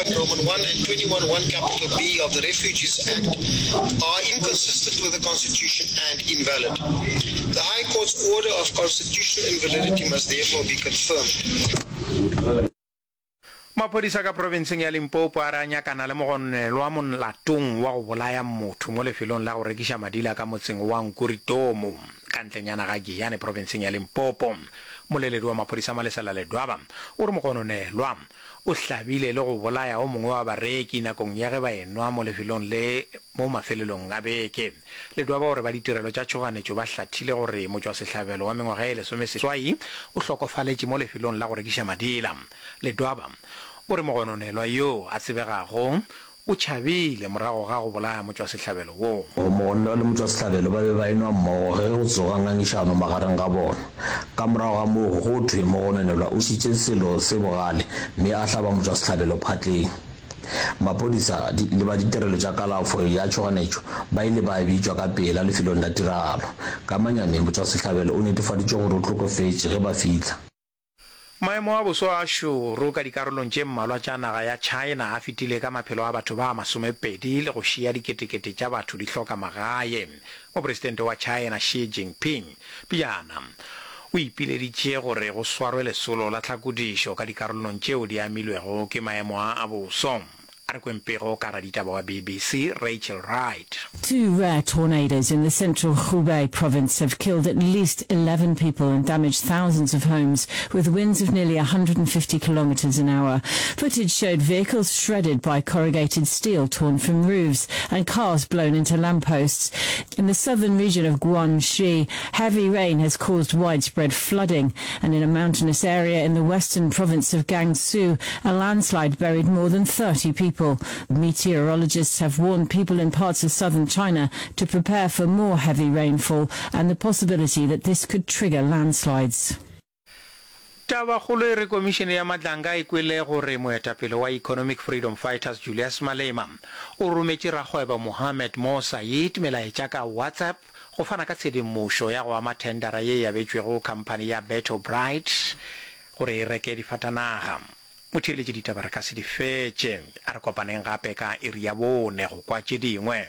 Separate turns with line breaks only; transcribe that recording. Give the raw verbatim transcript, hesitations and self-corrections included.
one Roman one and twenty-one one capital B of the Refugees Act are inconsistent with the Constitution and invalid. The High Court's order of constitutional invalidity must therefore be confirmed.
Maphodisa ka profenseng ya Limpopo a re a nyakana le mogononelwa molatong wa go bolaya motho mo lefelong la go rekiša madila ka motseng wa Nkuritomo ka ntlenyana ga Giyani profenseng ya Limpopo. Mmoleledi wa maphodisa Malesela Ledwaba o re mogononelwa o hlabile le go bolaya o mongwe wa bareki nakong ya ge ba enwa mo lefelong le mo mafelelong a beke. Ledwaba o re ba ditirelo tša tšhoganetšo ba hlathile gore motšwasehlabelo wa mengwaga e lesomeseswai o hlokofaletše mo lefelong la go rekiša madila. Ledwaba o re mogononelwa yo a tsebegago o tšhabile morago ga go bolaya motšwasehlabelo wo.
Mogononelwa le motšwasehlabelo ba be ba enwa mmogo ge go tsoga ngangišano magareng ga bona. Ka morago ga moo go thwe mogononelwa o šitše selo se bogale mme a hlaba motšwasehlabelo phatleng. Maphodisa le ba ditirelo tša kalafo ya tšhoganetšo ba ile ba bitšwa ka pela lefelong la tiragalo. Ka manyami, motšwasehlabelo o netefaditše gore o hlokofetše ge ba fihla.
Maemo a boso a šoro ka dikarolong tše mmalwa tša naga ya China a fetile ka maphelo a batho ba masomepedi le go šia diketekete tša batho di hloka magae. Mopresidente wa China Xi Jinping pejana o ipileditše gore go swarwe lesolo la tlhakodišo ka dikarolong tšeo di amilwego ke maemo a a boso. A re kweng pego ka raditaba wa B B C Rachel Wright.
Two rare tornadoes in the central Hubei province have killed at least eleven people and damaged thousands of homes with winds of nearly one hundred fifty kilometers an hour. Footage showed vehicles shredded by corrugated steel torn from roofs and cars blown into lampposts. In the southern region of Guangxi, heavy rain has caused widespread flooding, and in a mountainous area in the western province of Gansu, a landslide buried more than thirty people. Meteorologists have warned people in parts of southern China to prepare for more heavy rainfall and the possibility that this could trigger landslides.
Tabakgolo e re komišene ya Madlanga e kwele gore moetapele wa Economic Freedom Fighters Julius Malema o rometše rakgwebo Mohammed Mo Said melaetša ka WhatsApp go fana ka tshedimošo ya go ama thendara ye e abetšwego khamphani ya Beto Bright gore e reke difatanaga. Motheeletši, ditaba re ka se di fetše. A re kopaneng gape ka iri ya bone go kwa tše dingwe.